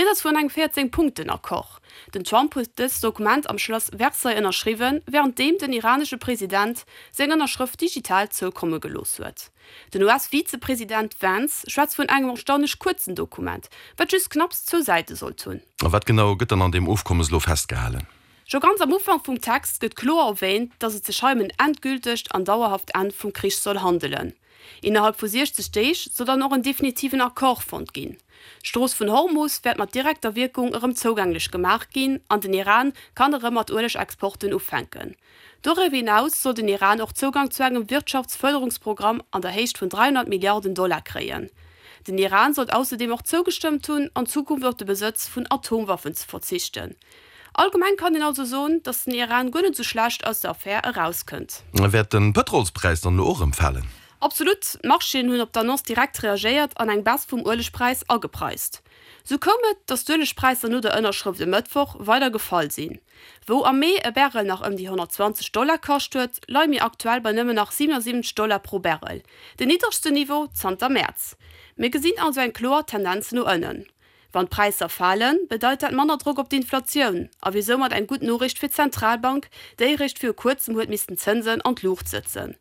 Rieds ass vun engem 14 Punkten-Accord. Den Trump huet dëst Dokument am Schlass Versailles ënnerschriwwen, wärenddeem den iranesche President seng Ënnerschrëft digital zoukomme gelooss huet. Den US-Vizepresident Vance schwätzt vun engem erstaunlech kuerzen Dokument, wat just knapps zwou Säite sollt hunn. A wat genau gëtt dann an deem Ofkommes elo festgehalen? Scho ganz am Ufank vum Text gëtt kloer erwähnt, datt et sech hei ëm en endgültegt an dauerhaft Enn vum Krich soll handelen. Innerhalb vu 60 Deeg soll dann och en definitiven Accord fonnt ginn. D'Strooss vun Hormus wäert mat direkter Wierkung erëm zougänglech gemaach ginn an den Iran kann erëm mat Uelegexporten ufänken. Doriwwer hinaus soll den Iran och Zougang zu engem Wirtschaftsfërderungsprogramm an der Héicht vun 300 Milliarden Dollar kréien. Den Iran sollt ausserdeem och zougestëmmt hunn, an Zukunft op de Besëtz vun Atomwaffen ze verzichten. Allgemeng kann een also soen, datt den Iran guer net esou schlecht aus der Affär erauskënnt. Wäert de Pëtrolspräis dann elo och erëm falen? Absolut, d'Marchéen hunn op d'Annonce direkt reagéiert an eng Baisse vum Uelegpräis agepreist. Sou koum et, datt d'Uelegpräisser no der Ënnerschrëft e Mëttwoch weider gefall sinn. Wou am Mee e Barrel nach ëm déi 120 Dollar kascht huet, leie mir aktuell bei nëmmen nach 77 Dollar pro Barrel, den niddregsten Niveau zanter Mäerz. Mir gesinn also eng kloer Tendenz no ënnen. Wann d'Präisser falen, bedeit dat manner Drock op d'Inflatioun a wier soumat eng gutt Noriicht fir d'Zentralbank, déi eréischt viru kuerzem huet missten d'Zënsen an d'Luucht sëtzen.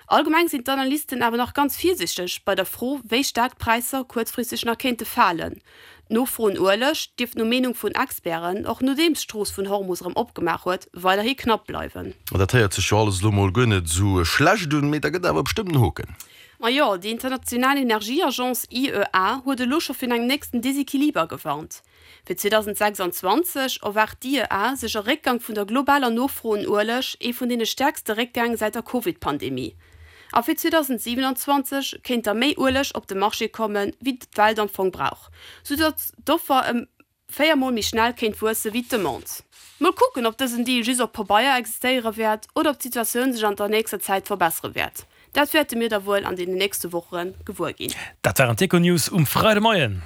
Allgemeng sinn d'Analysten awer nach ganz virsiichteg bei der Fro, wéi staark d'Präisser kuerzfristeg nach kéinte falen. D'Nofro un Ueleg dierft no Meenung vun Experten, och nodeems d'Strooss vun Hormus erëm opgemaach huet, weiderhi knapp bleiwen. Dat héiert sech jo alles elo mol guer net esou schlecht un, mee da gëtt awer bestëmmt en Hoken. Majo, déi international Energieagence IEA huet elo scho virun engem nächsten Desequiliber gewarnt. Fir 2026 erwaart d'IEA sech e Réckgang vun der globaler Nofro un Ueleg, ee vun deene stäerkste Réckgäng säit der Covid-Pandemie. A fir 2027 kéint da méi Ueleg op de Marché kommen, wéi d'Welt am Fong brauch, soudatt d'Offer ëm 4 mol méi schnell kéint wuesse wéi d'Demande. Mol kucken, ob dësen Deal just op Pabeier existéiere wäert oder ob d'Situatioun sech an der nächster Zäit verbessere wäert. Dat wäerte mir da wuel an deenen nächste Woche gewuer ginn. Dat waren d'Econews um Freidemoien.